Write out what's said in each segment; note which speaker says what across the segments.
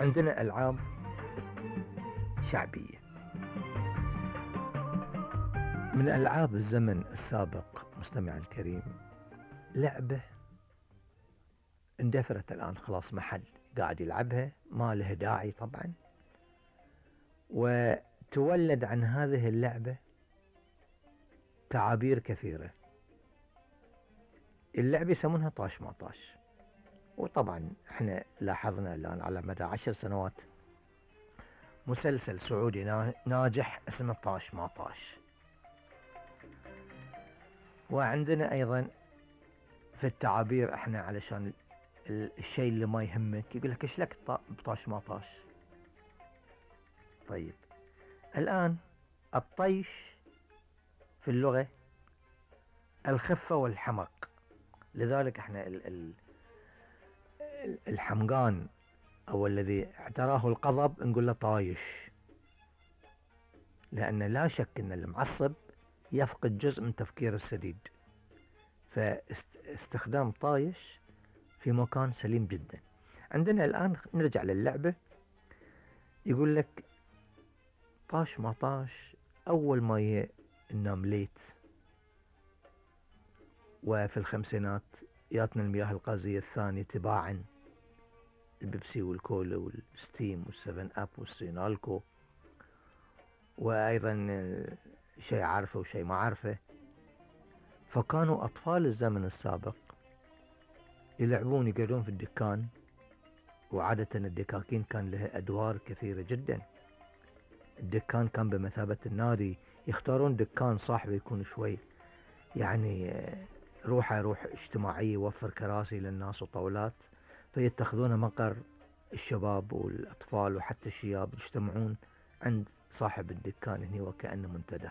Speaker 1: عندنا ألعاب شعبية. من ألعاب الزمن السابق مستمع الكريم لعبة اندثرت الآن خلاص، محل قاعد يلعبها ما له داعي طبعا، وتولد عن هذه اللعبة تعابير كثيرة. اللعبة يسمونها طاش ما طاش، وطبعا احنا لاحظنا الآن على مدى 10 سنوات مسلسل سعودي ناجح اسمه طاش ما طاش. وعندنا ايضا في التعابير احنا علشان الشيء اللي ما يهمك يقول لك ايش لك بطاش ما طاش. طيب الآن الطيش في اللغة الخفة والحمق، لذلك احنا الحمقان او الذي اعتراه القضب نقول له طايش، لأن لا شك أن المعصب يفقد جزء من تفكير السديد، فاستخدام طايش في مكان سليم جدا. عندنا الآن نرجع للعبة، يقول لك طاش ما طاش أول ما النامليت، وفي الخمسينات ياتنا المياه الغازية الثانية تباعا، البيبسي والكولا والستيم والسفن أب والسينالكو، وأيضا شيء عارفه وشيء ما عارفه. فكانوا أطفال الزمن السابق يلعبون يقعدون في الدكان، وعادة الدكاكين كان لها أدوار كثيرة جدا. الدكان كان بمثابة النادي، يختارون دكان صاحبه يكون شوي يعني روح اجتماعية، يوفر كراسي للناس وطاولات، فيتخذون مقر الشباب والأطفال وحتى الشياب يجتمعون عند صاحب الدكان هنا وكأنه منتدى.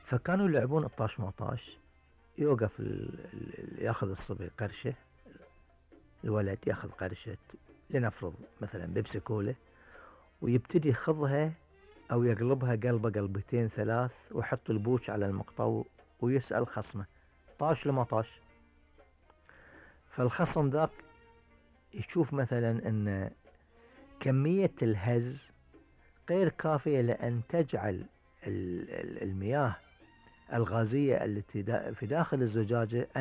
Speaker 1: فكانوا يلعبون الطاش ما طاش، يوقف ياخذ الصبي قرشة، الولد ياخذ قرشة لنفرض مثلا بيبسي كولا، ويبتدي يخضها او يقلبها قلبة قلبتين ثلاث، ويحط البوش على المقطع ويسأل خصمه طاش لما طاش. فالخصم ذاك يشوف مثلا ان كمية الهز غير كافية لأن تجعل المياه الغازية التي في داخل الزجاجة